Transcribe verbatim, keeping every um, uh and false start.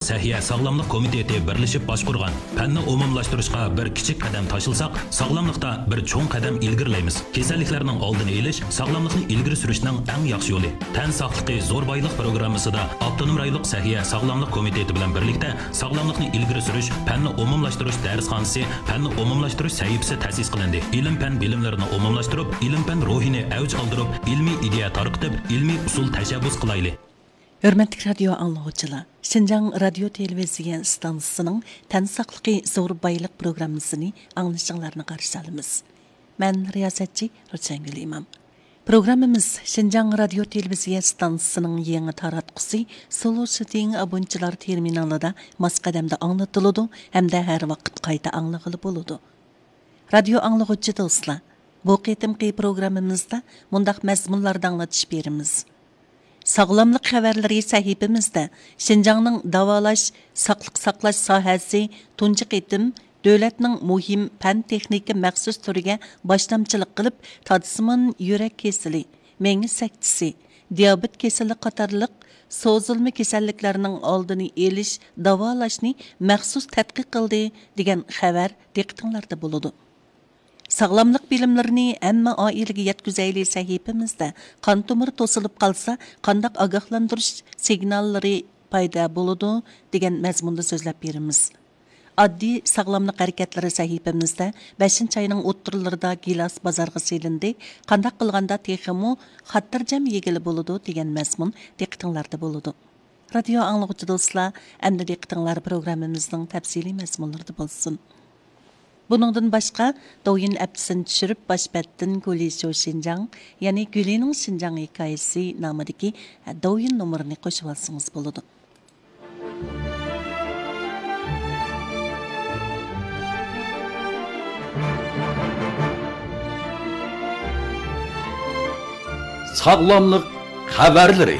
سەھىيە ساغلاملىق كومىتېتى بىرلىشىپ باشقۇرغان پەننى ئومۇملاشتۇرۇشقا بىر كىچىك قەدەم تاشلىساق، ساغلاملىقتا بىر چوڭ قەدەم ئىلگىرىلەيمىز. كېسەللىكلەرنىڭ ئالدىنى ئېلىش، ساغلاملىقنى ئىلگىرى سۈرۈشنىڭ ئەڭ ياخشى يولى. تەن ساقلىقى زور بايلىق پروگراممىسىدا ئاپتونوم رايونلۇق سەھىيە ساغلاملىق كومىتېتى بىلەن بىرلىكتە ساغلاملىقنى ئىلگىرى سۈرۈش پەننى ئومۇملاشتۇرۇش دەرسخانىسى، پەننى ئومۇملاشتۇرۇش سەھىپىسى تەسىس قىلىندى. ئىلىم-پەن بىلىملىرىنى ئومۇملاشتۇرۇپ، ئىلىم-پەن روھىنى ئەۋج ئالدۇرۇپ، ئىلمىي ئىدىيە تارقىتىپ، ئىلمىي ئۇسۇل تەشەببۇس قىلايلى. ھۆرمەتلىك رادىيو ئاڭلىغۇچىلار، شىنجاڭ رادىيو تېلېۋىزىيە ئىستانسىسىنىڭ تەن ساقلىقى زور بايلىق پروگراممىسىنى ئاڭلىشىڭلارنى قارشى ئالىمىز. مەن رىياسەتچى روشەنگۈل ئىمام. پروگراممىمىز شىنجاڭ رادىيو تېلېۋىزىيە ئىستانسىسىنىڭ يېڭى تاراتقۇسى سولو شىتىڭ ئابونچىلار تېرمىنالىدا ماس قەدەمدە ئاڭلىتىلىدۇ ھەمدە ھەر ۋاقىت قايتا ئاڭلىغىلى بولىدۇ. رادىيو ئاڭلىغۇچى دوستلار، بۇ قېتىمقى پروگراممىمىزدا مۇنداق مەزمۇنلاردا ئاڭلىتىش بېرىمىز. ساغلاملىق خەۋەرلىرى سەھىپىمىزدە شىنجاڭنىڭ داۋالاش، ساقلىق ساقلاش ساھەسى تۇنجى قېتىم دۆلەتنىڭ مۇھىم پەن-تېخنىكا مەخسۇس تۈرىگە باشلامچىلىق قىلىپ، تادسىمان يۈرەك كېسىلى، مېڭە سەكتىسى، دىيابېت كېسىلى قاتارلىق سوزۇلما كېسەللىكلەرنىڭ ئالدىنى ئېلىش، داۋالاشنى مەخسۇس تەتقىق قىلدى، دېگەن خەۋەر دىققىتىڭلاردا بولىدۇ. ساغلاملىق بىلىملىرىنى ھەممە ئائىلىگە يەتكۈزەيلى سەھىپىمىزدە قان تومۇرى توسۇلۇپ قالسا، قانداق ئاگاھلاندۇرۇش سىگناللىرى پەيدا بولىدۇ، دېگەن مەزمۇندا سۆزلەپ بېرىمىز. ئاددىي ساغلاملىق ھەرىكەتلىرى سەھىپىمىزدە بەشىنچى ئاينىڭ ئوتتۇرىلىرىدا گىلاس بازارغا سېلىندى، قانداق قىلغاندا تېخىمۇ خاتىرجەم يېگىلى بولىدۇ، دېگەن مەزمۇن دىققىتىڭلاردا بولىدۇ. رادىيو ئاڭلىغۇچى دوستلار، ئەمدى دىققىتىڭلار پروگراممىمىزنىڭ تەپسىلىي مەزمۇنلىرىدا بولسۇن. بۇنىڭدىن باشقا، دوۋيىن ئەپتىسىنى چۈشۈرۈپ، باش بەتتىن گۇلى شو شىنجاڭ، يەنى گۈلىنىڭ شىنجاڭ ھېكايىسى نامىدىكى دوۋيىن نومۇرىنى قوشۇۋالسىڭىز بولىدۇ. ساغلاملىق خەۋەرلىرى.